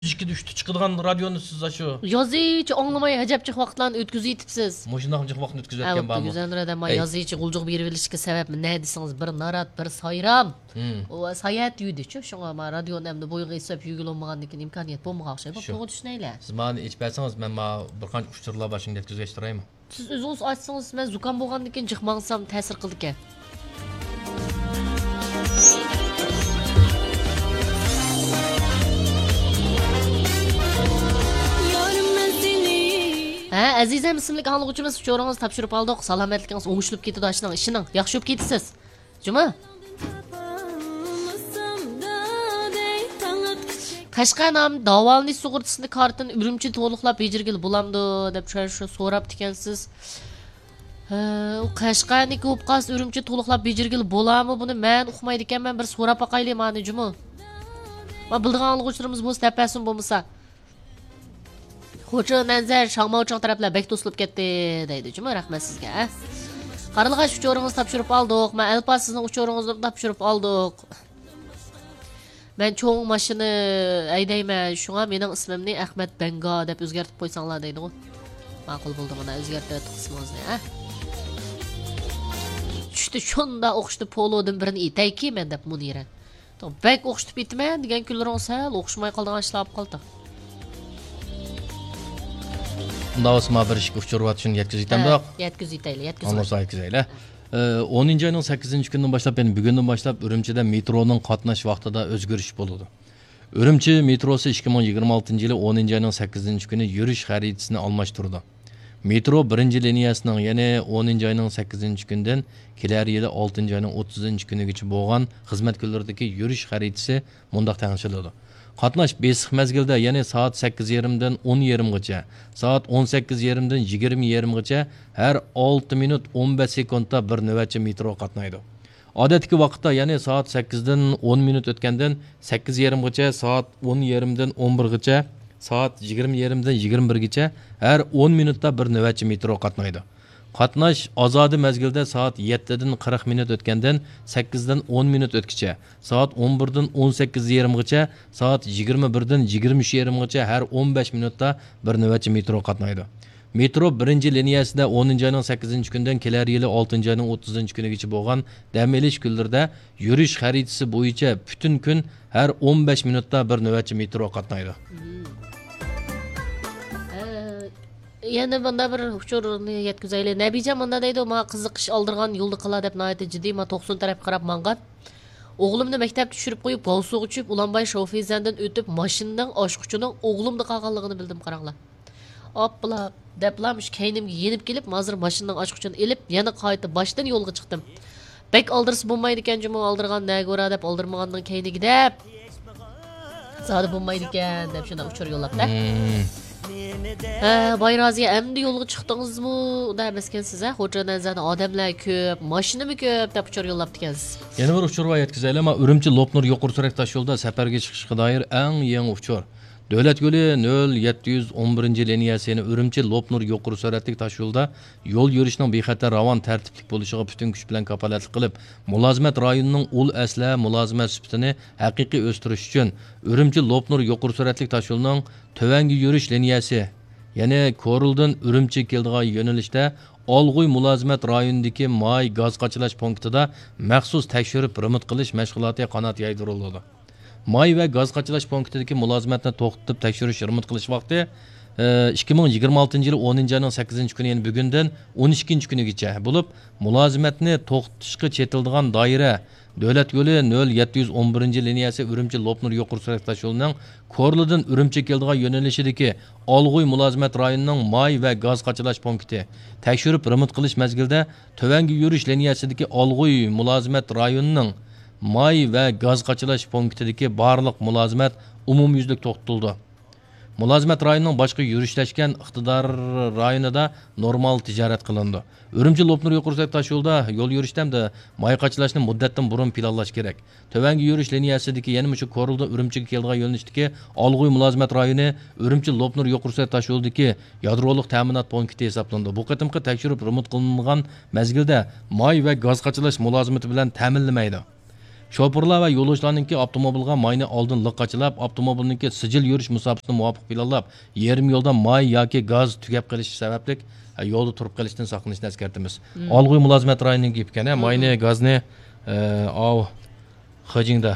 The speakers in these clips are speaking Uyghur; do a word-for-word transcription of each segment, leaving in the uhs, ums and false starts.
ئىككىدە، ئۈچتە چىقىدىغان رادىيونى سىز ئاشۇ يازىچە ئاڭلىماي، ئەجەبجىق ۋاقىتلارنى ئۆتكۈزۈۋېتىپسىز. مۇشۇنداق جىق ۋاقىتنى ئۆتكۈزۈۋەتكەن بارمۇ؟ گۈزەل رەدەم، ئەي. يازىچە غۇلجىغا بېرىۋېلىشكە سەۋەب نە دېسىڭىز، بىر نارات، بىر سايرام. ھىم. ئۇ ساياھەت يۈدىچۇ، شۇڭا ما رادىيونى ئەمدى بويىغا ئېسىپ يۈگۈلۈلمىگەندىن كېيىن ئىمكانىيەت بولمىغان ئوخشايدۇ. شۇ. توغرا چۈشىنەيلى. سىز مانا ئېچىپ بەرسىڭىز، مەن ما بىر قانچە ئۇچۇرلار بار، شۇنى يەتكۈزگەچ تۇرايمۇ؟ سىز ئۆزىڭىز ئاچسىڭىز، مەن زۇكام بولغاندىن كېيىن جىق ماڭسام تەسىر قىلىدىكەن. ھە، ئەزىزەم ئىسىملىك ئاڭلىغۇچىمىز، ئۇچۇرىڭىزنى تاپشۇرۇپ ئالدۇق. سالامەتلىكىڭىز ئوڭشىلىپ كېتىدۇ، ئاشۇنىڭ ئىشىنىڭ ياخشى بولۇپ كېتىسىز. جۇمۇ؟ قەشقەر نامى داۋالىنىش سۇغۇرتىسىنى كارتىنى ئۈرۈمچىدە تولۇقلاپ بېجىرگىلى بولامدۇ دەپ شۇ، شۇ سوراپتىكەنسىز. ھە، ئۇ قەشقەرنىڭكى بولۇپ قالسا ئۈرۈمچىدە تولۇقلاپ بېجىرگىلى بولامۇ بۇنى؟ مەن ئۇقمايدىكەنمەن، بىر سوراپ باقايلى مانى جۇمۇ. ما بىلىدىغان ئاڭلىغۇچىلىرىمىز بولسا دەپ بەرسۇن بولمىسا. خوچا نەنزەر شاڭماۋچىڭ تەرەپلەر بەك توسۇلۇپ كەتتى دەيدۇ جۇمۇ، رەھمەت سىزگە. قارلىغاچ ئۇچۇرىڭىزنى تاپشۇرۇپ ئالدۇق. مەن ئەلپاز سىزنىڭ ئۇچۇرىڭىزنى تاپشۇرۇپ ئالدۇق. مەن چوڭ ماشىنا ھەيدەيمەن، شۇڭا مېنىڭ ئىسمىمنى ئەخمەت بەڭگا دەپ ئۆزگەرتىپ قويساڭلار دەيدىغۇ. ماقۇل بولدى، مانا ئۆزگەرتىۋەتتۇق ئىسمىڭىزنى، ھە. چۈشتە شۇنداق ئوخشىتىپ پولودىن بىرنى ئېتەيكى مەن دەپ مۇنىرە. بەك ئوخشىتىپ ئېتىمەن دېگەن كۈنلىرىڭىز سەل ئوخشىماي قالىدىغان ئىشلار بولۇپ قالدى. ئۇنداق بولسا، ما بىر ئىككى ئۇچۇر بار، شۇنى يەتكۈزۈپ ئېتەمدۇق؟ ھە، يەتكۈزۈپ ئېتەيلى، يەتكۈزۈپ ئاڭلىسا يەتكۈزەيلى. ئە، ئونىنچى ئاينىڭ سەككىزىنچى كۈنىدىن باشلاپ، يەنى بۈگۈندىن باشلاپ ئۈرۈمچىدە مېترونىڭ قاتناش ۋاقتىدا ئۆزگىرىش بولىدۇ. ئۈرۈمچى مېتروسى ئىككى مىڭ يىگىرمە ئالتىنچى يىلى ئونىنچى ئاينىڭ سەككىزىنچى كۈنى يۈرۈش خەرىتىسىنى ئالماشتۇرىدۇ. مېترو بىرىنچى لىنىيەسىنىڭ، يەنى ئونىنچى ئاينىڭ سەككىزىنچى كۈنىدىن كېلەر يىلى ئالتىنچى ئاينىڭ ئوتتۇزىنچى كۈنىگىچە بولغان خىزمەت كۈنلىرىدىكى يۈرۈش خەرىتىسى مۇنداق تەڭشىلىدۇ. قاتناش بېسىق مەزگىلدە، يەنى سائەت سەككىز يېرىمدىن ئون يېرىمغىچە، سائەت ئون سەككىز يېرىمدىن يىگىرمە يېرىمغىچە ھەر ئالتە مىنۇت ئون بەش سېكۇنتتا بىر نۆۋەتچى مېترو قاتنايدۇ. ئادەتتىكى ۋاقىتتا، يەنى سائەت سەككىزدىن ئون مىنۇت ئۆتكەندىن سەككىز يېرىمغىچە، سائەت ئون يېرىمدىن ئون بىرغىچە، سائەت يىگىرمە يېرىمدىن يىگىرمە بىرگىچە ھەر ئون مىنۇتتا بىر نۆۋەتچى مېترو قاتنايدۇ. قاتناش ئازادە مەزگىلدە سائەت يەتتىدىن قىرىق مىنۇت ئۆتكەندىن سەككىزدىن ئون مىنۇت ئۆتكىچە، سائەت ئون بىردىن ئون سەككىز يېرىمغىچە، سائەت يىگىرمە بىردىن يىگىرمە ئۈچ يېرىمغىچە ھەر ئون بەش مىنۇتتا بىر نۆۋەتچى مېترو قاتنايدۇ. مېترو بىرىنچى لىنىيەسىدە ئونىنچى ئاينىڭ سەككىزىنچى كۈنىدىن كېلەر يىلى ئالتىنچى ئاينىڭ ئوتتۇزىنچى كۈنىگىچە بولغان دەم ئېلىش كۈنلىرىدە يۈرۈش خەرىتىسى بويىچە پۈتۈن كۈن ھەر ئون بەش مىنۇتتا بىر نۆۋەتچى مېترو قاتنايدۇ. ئە، يەنە مۇنداق بىر ئۇچۇرنى يەتكۈزەيلى. نەبىجان مۇنداق دەيدۇ، ماڭا قىزىقىش ئالدۇرغان يولدا قىلا دەپ ناھايىتى جىددىي، ما توقسۇن تەرەپكە قاراپ ماڭغان. ئوغلۇمنى مەكتەپتە چۈشۈرۈپ قويۇپ، گاۋسۇغا چۈشۈپ، ئۇلانباي شاۋفېيزەندىن ئۆتۈپ، ماشىنىنىڭ ئاچقۇچىنىڭ ئوغلۇمدا قالغانلىقىنى بىلدىم، قاراڭلار. ئاپپىلا دەپلا مۇشۇ كەينىمگە يېنىپ كېلىپ، ھازىر ماشىنىنىڭ ئاچقۇچىنى ئېلىپ، يەنە قايتا باشتىن يولغا چىقتىم. بەك ئالدىرىسا بولمايدىكەن جۇمۇ، ئالدىرغان نەگە ئۇرا دەپ، ئالدىرمىغاننىڭ كەينىگە دەپ. زادى بولمايدىكەن دەپ شۇنداق ئۇچۇر يوللاپتۇ. مم. ھە، باي رازى، ئەمدى يولغا چىقتىڭىزمۇ؟ ئۇنداق ئەمەسكەنسىز، ھە؟ خوجا نەنزەدە ئادەملەر كۆپ، ماشىنىمۇ كۆپ دەپ ئۇچۇر يوللاپتىكەنسىز. يەنە بىر ئۇچۇر بار، يەتكۈزەيلى. ما ئۈرۈمچى لوپنۇر يۇقىرى سۈرئەتلىك تاشيولىدا سەپەرگە چىقىشقا دائىر ئەڭ يېڭى ئۇچۇر. دۆلەت يولى نۆل يەتتە يۈز ئون بىرىنچى لىنىيەسى، يەنى ئۈرۈمچى لوپنۇر يۇقىرى سۈرئەتلىك تاشيولىدا يول يۈرۈشنىڭ بىخەتەر، راۋان، تەرتىپلىك بولۇشىغا پۈتۈن كۈچ بىلەن كاپالەتلىك قىلىپ، مۇلازىمەت رايونىنىڭ ئۇل ئەسلىھە مۇلازىمەت سۈپىتىنى ھەقىقىي ئۆستۈرۈش ئۈچۈن، ئۈرۈمچى لوپنۇر يۇقىرى سۈرئەتلىك تاشيولىنىڭ تۆۋەنگە يۈرۈش لىنىيەسى، يەنى كورلىدىن ئۈرۈمچىگە كېلىدىغان يۆنىلىشتە ئالغۇي مۇلازىمەت رايونىدىكى ماي گاز قاچىلاش پونكىتىدا مەخسۇس تەكشۈرۈپ رېمونت قىلىش مەشغۇلاتى قانات يايدۇرۇلىدۇ. ماي ۋە گاز قاچىلاش پونكىتىدىكى مۇلازىمەتنى توختىتىپ تەكشۈرۈش، رېمونت قىلىش ۋاقتى، ئى، ئىككى مىڭ يىگىرمە ئالتىنچى يىلى ئونىنچى ئاينىڭ سەككىزىنچى كۈنى، يەنى بۈگۈندىن ئون ئىككىنچى كۈنىگىچە بولۇپ، مۇلازىمەتنى توختىتىشقا چېتىلىدىغان دائىرە دۆلەت يولى نۆل يەتتە يۈز ئون بىرىنچى لىنىيەسى ئۈرۈمچى لوپنۇر يۇقىرى سۈرئەتلىك تاشيولىنىڭ كورلىدىن ئۈرۈمچىگە كېلىدىغان يۆنىلىشىدىكى ئالغۇي مۇلازىمەت رايونىنىڭ ماي ۋە گاز قاچىلاش پونكىتى، تەكشۈرۈپ رېمونت قىلىش مەزگىلىدە تۆۋەنگە يۈرۈش لىنىيەسىدىكى ئالغۇي مۇلازىمەت رايونىنىڭ ماي ۋە گاز قاچىلاش پونكىتىدىكى بارلىق مۇلازىمەت ئومۇميۈزلۈك توختىتىلىدۇ. مۇلازىمەت رايونىنىڭ باشقا يۈرۈشلەشكەن ئىقتىدار رايونىدا نورمال تىجارەت قىلىنىدۇ. ئۈرۈمچى لوپنۇر يۇقىرى سۈرئەتلىك تاشيولىدا يول يۈرۈشتە ھەمدە ماي قاچىلاشنى مۇددەتتىن بۇرۇن پىلانلاش كېرەك. تۆۋەنگە يۈرۈش لىنىيەسىدىكى، يەنە مۇشۇ كورلىدىن ئۈرۈمچىگە كېلىدىغان يۆنىلىشتىكى ئالغۇي مۇلازىمەت رايونى ئۈرۈمچى لوپنۇر يۇقىرى سۈرئەت تاشيولىدىكى يادرولۇق تەمىنات پونكىتى ھېسابلىنىدۇ. بۇ قېتىمقى تەكشۈرۈپ رېمونت قىلىنغان مەزگىلدە ماي ۋە گاز قاچىلاش مۇلازىمىتى بىلەن تەمىنلىمەيدۇ. شوپۇرلار ۋە يولۇچىلارنىڭكى ئاپتوموبىلغا ماينى ئالدىن لىق قاچىلاپ، ئاپتوموبىلنىڭكى سىجىل يۈرۈش مۇساپىسىنى مۇۋاپىق پىلانلاپ، يېرىم يولدا ماي ياكى گاز تۈگەپ قېلىشى سەۋەبلىك، ھە، يولدا تۇرۇپ قېلىشتىن ساقلىنىشنى ئەسكەرتىمىز. مم. ئالغۇي مۇلازىمەت رايونىنىڭ گېپى ئىكەن، ھە، مم، ماينى، گازنى، ئە، ئاۋۇ خېجىڭدا،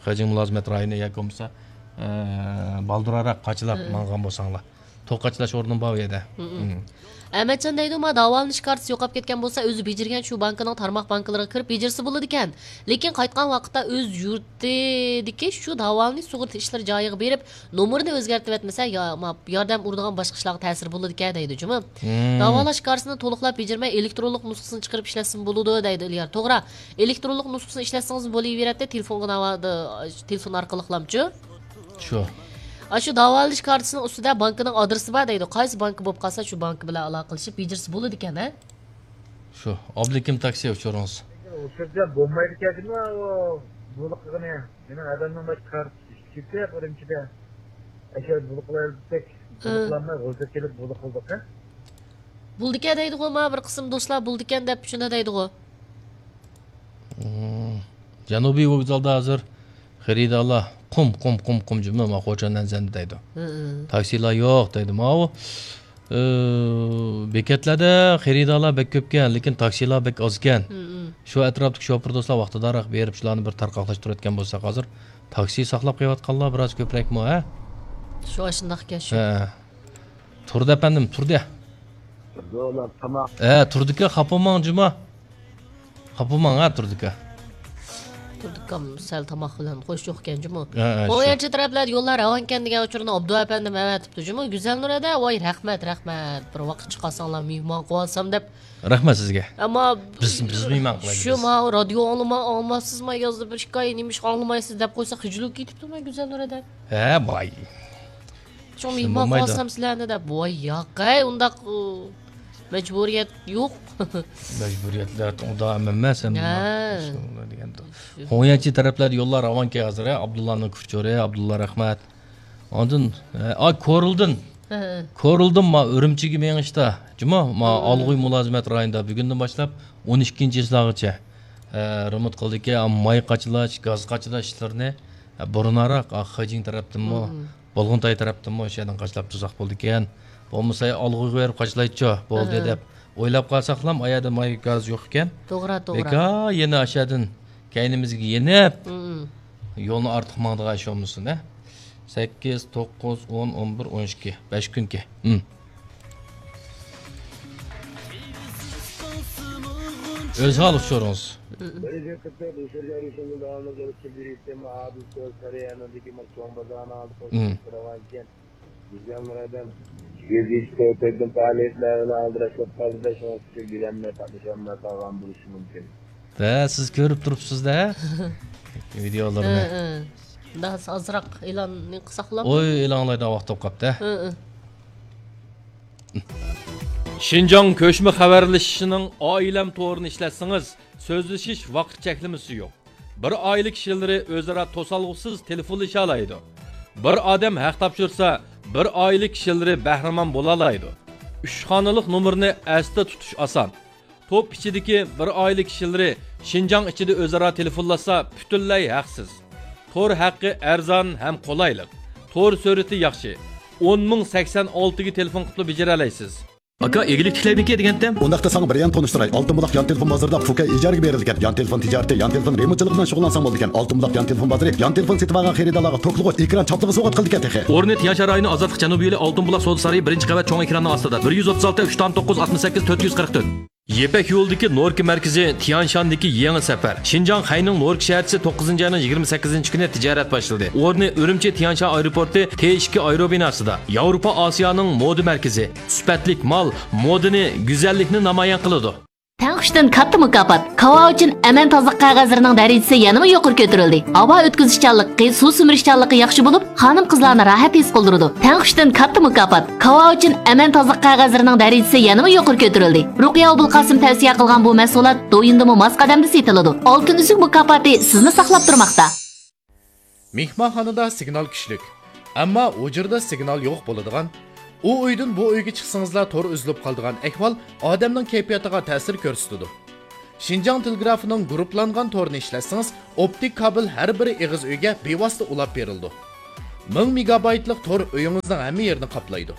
خېجىڭ مۇلازىمەت رايونى ياكى بولمىسا، ئە، بالدۇرراق قاچىلاپ، مم، ماڭغان بولساڭلار. توك قاچىلاش ئورنىمۇ بار ئۇ يەردە. مم. مم. ئەمەتجان دەيدۇ، ما داۋالىنىش كارتىسى يوقاپ كەتكەن بولسا، ئۆزى بېجىرگەن شۇ بانكىنىڭ تارماق بانكىلىرىغا كىرىپ بېجىرسە بولىدىكەن. لېكىن قايتقان ۋاقىتتا ئۆز يۇرتىدىكى شۇ داۋالىنىش سۇغۇرتا ئىشلىرى جايىغا بېرىپ، نومۇرىنى ئۆزگەرتىۋەتمىسە، يا-، ما-، ياردەم ئۇرىدىغان باشقا ئىشلارغا تەسىرى بولىدىكەن دەيدۇ جۇمۇ. مم. داۋالاش كارتىسىنى تولۇقلاپ بېجىرمەي، ئېلېكترونلۇق نۇسخىسىنى چىقىرىپ ئىشلەتسىمۇ بولىدۇ دەيدۇ ئىليار. توغرا، ئېلېكترونلۇق نۇسخىسىنى ئىشلەتسىڭىز بولۇۋېرەتتى، تېلېفونغا ناۋادا، تېلېفون ئارقىلىقلامچۇ؟ شۇ. ئاشۇ داۋالىنىش كارتىسىنىڭ ئۈستىدە بانكىنىڭ ئادرېسى بار دەيدۇ. قايسى بانكا بولۇپ قالسا، شۇ بانكا بىلەن ئالاقىلىشىپ بېجىرسە بولىدىكەن، ھە؟ شۇ. ئابلىكىم تاكسى ئۇچۇرىڭىز. ئۇچۇردا بولمايدىكەن، بۇنى قىلغىنى. مېنىڭ ئادەمنىڭ باشقا كارتىسى كېتىپ، ئۈرۈمچىدە. ئەشە بۇنى قىلايلى دېسەك، بۇنى، ھە، قىلالماي، غۇلجا كېلىپ بۇنى قىلدۇق، ھە؟ بولىدىكەن دەيدىغۇ، ما بىر قىسىم دوستلار بولىدىكەن دەپ شۇنداق دەيدىغۇ. مم. جەنۇبىي ۋوگزالدا ھازىر خېرىدارلار قۇم، قۇم، قۇم، قۇم جۈملە ما خوچان ئەنزەندە دەيدۇ. ھە، ھە. تاكسىلار يوق دەيدۇ. ماۋۇ، ئى، بېكەتلەردە خېرىدارلار بەك كۆپكەن، لېكىن تاكسىلار بەك ئازكەن. ھە، ھە. شۇ ئەتراپتىكى شوپۇر دوستلار ۋاقتىدارراق بېرىپ، شۇلارنى بىر تارقاقلاشتۇرۇۋەتكەن بولساق، ھازىر تاكسى ساقلاپ قېلىۋاتقانلار بىراز كۆپرەكمۇ، ھە؟ شۇ ئاشۇنداقكەن شۇ. ھە. تۇردى ئەپەندىم، تۇردى. ھە، تۇردىكا، خاپا بولماڭ جۇما. خاپا بولماڭ، ھە، تۇردىكا. تۇردىكام سەل تاماق بىلەن خوش يوقكەن جۇمۇ. ھە، ھە، شۇ. قويانچى تەرەپلەردە يوللار راۋانكەن دېگەن ئۇچۇرنى ئابدۇ ئەپەندىم ئەۋەتىپتۇ جۇمۇ. گۈزەلنۇر ھەدە، ۋاي، رەھمەت، رەھمەت. بىر ۋاقىت چىقارساڭلار، مېھمان قىلىۋالسام دەپ. رەھمەت سىزگە. ئەمما بىز، بىز مېھمان قىلايلى، شۇ بىز. ماۋۇ رادىيو ئاڭلىماي، ئاڭلىمايسىزما يازدا بىر ئىككى ئاي، نېمىشقا ئاڭلىمايسىز دەپ قويسا، خىجىل بولۇپ كېتىپتۇ مەن گۈزەلنۇر ھەدە. ھە، باي. شۇڭا شۇ مېھمان بولمايدۇ. قىلسام سىلەرنى دەپ، ۋاي ياقەي، ئۇنداق، ئۇ، مەجبۇرىيەت يوق. مەجبۇرىيەتلەر ئۇدا ئەمەس، ئەمما ھە. شۇ دېگەندۇ. شۇ. خۇڭيەنچى تەرەپلەردە يوللار راۋانكەن ھازىر، ھە، ئابدۇللانىڭ كۇرچورى، ئابدۇللا رەھمەت. ئاندىن، ھە، ئا، كورلدىن. ھە، ھە. كورلدىن ما ئۈرۈمچىگە مېڭىشتا، جۇما، ما ھە. ئالغۇي مۇلازىمەت رايونىدا بۈگۈندىن باشلاپ ئون ئىككىنچى چىسلاغىچە، ھە، رېمونت قىلدىكى، ئا، ماي قاچىلاش، گاز قاچىلاش ئىشلىرىنى، ھە، بۇرۇنراق، ئا، خېجىڭ تەرەپتىنمۇ، ھە، ھە. بولغۇنتاي تەرەپتىنمۇ ئىشەردىن قاچىلاپ تۇزاق بولىدىكەن. بولمىسا ئالغۇيغا بېرىپ قاچىلايچۇ، بولدى ئەھە. دەپ ئويلاپ قالساقلام، ئايەردە ماي گاز يوق ئىكەن. توغرا، توغرا. بىكار يەنە ئاشەدىن كەينىمىزگە يېنىپ، مم. يولنى ئارتۇق ماڭىدىغان ئىش بولمىسۇن، ھە؟ سەككىز، توققۇز، ئون، ئون بىر، ئون ئىككى. بەش كۈنكى. مم. ئۆزھال ئۇچۇرىڭىز. مم. مم. گۈزەلنۇر ھەدەم، يۈز يۈز تۆتتىن پائالىيەتلەر بىلەن ئالدىراش بولۇپ قالدى، شۇڭا سىزگە بېرەلمەي قاتنىشالماي قالغان بولۇشى مۇمكىن. ھە، سىز كۆرۈپ تۇرۇپسىز-دە، ۋىدېئولىرىنى. ھە، ھە. مۇنداق ئازراق ئېلاننى قىلساق بولامدۇ؟ ئوي، ئېلانلايدىغان ۋاقىت بولۇپ قاپتۇ، ھە؟ ھە، ھە. شىنجاڭ كۆچمە خەۋەرلىشىشىنىڭ ئائىلەم تورىنى ئىشلەتسىڭىز، سۆزلىشىش ۋاقىت چەكلىمىسى يوق. بىر ئائىلە كىشىلىرى ئۆزئارا توسالغۇسىز تېلېفونلىشالايدۇ. بىر ئادەم ھەق تاپشۇرسا، بىر ئائىلە كىشىلىرى بەھرىمەن بولالايدۇ. ئۈچ خانىلىق نومۇرنى ئەستە تۇتۇش ئاسان. توپ ئىچىدىكى بىر ئائىلە كىشىلىرى شىنجاڭ ئىچىدە ئۆزئارا تېلېفونلاشسا، پۈتۈنلەي ھەقسىز. تور ھەققى ئەرزان ھەم قولايلىق. تور سۈرئىتى ياخشى. ئون مىڭ سەكسەن ئالتىگە تېلېفون قىپلا بېجىرەلەيسىز. ئاكا، ئىگىلىك تىكلەيمىكى دېگەنتىم؟ ئۇنداقتا ساڭا بىر يان تونۇشتۇراي. ئالتۇن بۇلاق يان تېلېفون بازىرىدا فۇكەي ئىجارىگە بېرىلگەن يان تېلېفون تىجارىتى، يان تېلېفون رېمونتچىلىقى بىلەن شۇغۇللانساڭ بولىدىكەن. ئالتۇن بۇلاق يان تېلېفون بازىرى يان تېلېفون سېتىۋالغان خېرىدارلارغا توكلىغۇچ، ئېكران چاپلىغۇچ سوۋغات قىلىدىكەن تېخى. ئورنى تيەنشان رايونى ئازادلىق جەنۇبىي يولى ئالتۇن بۇلاق سودا سارىيى بىرىنچى قەۋەت چوڭ ئېكراننىڭ ئاستىدا، بىر يۈز ئوتتۇز ئالتە، ئۈچ تۆت توققۇز، ئاتمىش سەككىز، تۆت يۈز قىرىق تۆت. يىپەك يولىدىكى نوركا مەركىزى، تيەنشاندىكى يېڭى سەپەر. شىنجاڭ خەينىڭ نوركا شەھەرچىسى توققۇزىنچى ئاينىڭ يىگىرمە سەككىزىنچى كۈنى تىجارەت باشلىدى. ئورنى ئۈرۈمچى تيەنشان ئايروپورتى تې ئىككى ئايروبىناسىدا. ياۋروپا ئاسىيانىڭ مودا مەركىزى. سۈپەتلىك مال، مودىنى، گۈزەللىكنى نامايان قىلىدۇ. تەڭ ئۈچتىن كاتتا مۇكاپات. كاۋاۋىچىن ئەمەن تازىلىق قەغەزلىرىنىڭ دەرىجىسى يەنىمۇ يۇقىرى كۆتۈرۈلدى. ھاۋا ئۆتكۈزۈشچانلىقى، سۇ سۈمۈرۈشچانلىقى ياخشى بولۇپ، خانىم-قىزلارنى راھەت ھېس قىلدۇرىدۇ. تەڭ ئۈچتىن كاتتا مۇكاپات. كاۋاۋىچىن ئەمەن تازىلىق قەغەزلىرىنىڭ دەرىجىسى يەنىمۇ يۇقىرى كۆتۈرۈلدى. رۇقىيە ئابۇلقاسىم تەۋسىيە قىلغان بۇ مەھسۇلات دويىندىمۇ ماس قەدەمدە سېتىلىدۇ. ئالتۇن ئۈزۈك مۇكاپاتى سىزنى ساقلاپ تۇرماقتا. مېھمانخانىدا سىگنال كۈچلۈك، ئەمما ھۇجرىدا سىگنال يوق بولىدىغان، ئۇ ئۆيدىن بۇ ئۆيگە چىقسىڭىزلا تور ئۈزۈلۈپ قالىدىغان ئەھۋال ئادەمنىڭ كەيپىياتىغا تەسىر كۆرسىتىدۇ. شىنجاڭ تېلېگرافىنىڭ گۇرۇپپىلانغان تورىنى ئىشلەتسىڭىز، ئوپتىك كابېل ھەر بىر ئېغىز ئۆيگە بىۋاسىتە ئۇلاپ بېرىلىدۇ. مىڭ مېگابايتلىق تور ئۆيىڭىزنىڭ ھەممە يېرىنى قاپلايدۇ.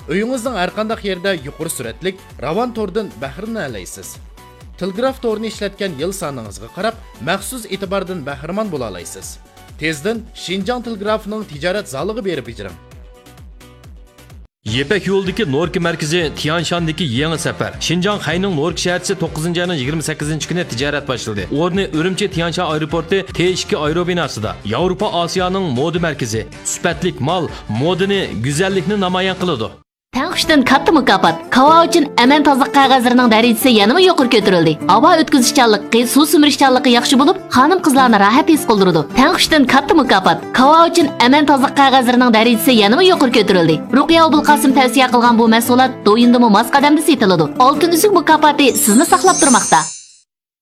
ئۆيىڭىزنىڭ ھەرقانداق يېرىدە يۇقىرى سۈرئەتلىك، راۋان توردىن بەھرىلىنەلەيسىز. تېلېگراف تورىنى ئىشلەتكەن يىل سانىڭىزغا قاراپ، مەخسۇس ئېتىباردىن بەھرىمەن بولالايسىز. تېزدىن شىنجاڭ تېلېگرافىنىڭ تىجارەت زالىغا بېرىپ بېجىرىڭ. يىپەك يولىدىكى نوركا مەركىزى، تيانشاندىكى يېڭى سەپەر. شىنجاڭ خەينىڭ نوركا شەھەرچىسى توققۇزىنچى ئاينىڭ يىگىرمە سەككىزىنچى كۈنى تىجارەت باشلىدى. ئورنى ئۈرۈمچى تيانشان ئايروپورتى تې ئىككى ئايروبىناسىدا. ياۋروپا ئاسىيانىڭ مودا مەركىزى. سۈپەتلىك مال، مودىنى، گۈزەللىكنى نامايان قىلىدۇ. تەڭ ئۈچتىن كاتتا مۇكاپات. كاۋاۋىچىن ئەمەن تازىلىق قەغەزلىرىنىڭ دەرىجىسى يەنىمۇ يۇقىرى كۆتۈرۈلدى. ھاۋا ئۆتكۈزۈشچانلىقى، سۇ سۈمۈرۈشچانلىقى ياخشى بولۇپ، خانىم-قىزلارنى راھەت ھېس قىلدۇرىدۇ. تەڭ ئۈچتىن كاتتا مۇكاپات. كاۋاۋىچىن ئەمەن تازىلىق قەغەزلىرىنىڭ دەرىجىسى يەنىمۇ يۇقىرى كۆتۈرۈلدى. رۇقىيە ئوبۇلقاسىم تەۋسىيە قىلغان بۇ مەھسۇلات دويىندىمۇ ماس قەدەمدە سېتىلىدۇ. ئالتۇن ئۈزۈك مۇكاپاتى سىزنى ساقلاپ تۇرماقتا.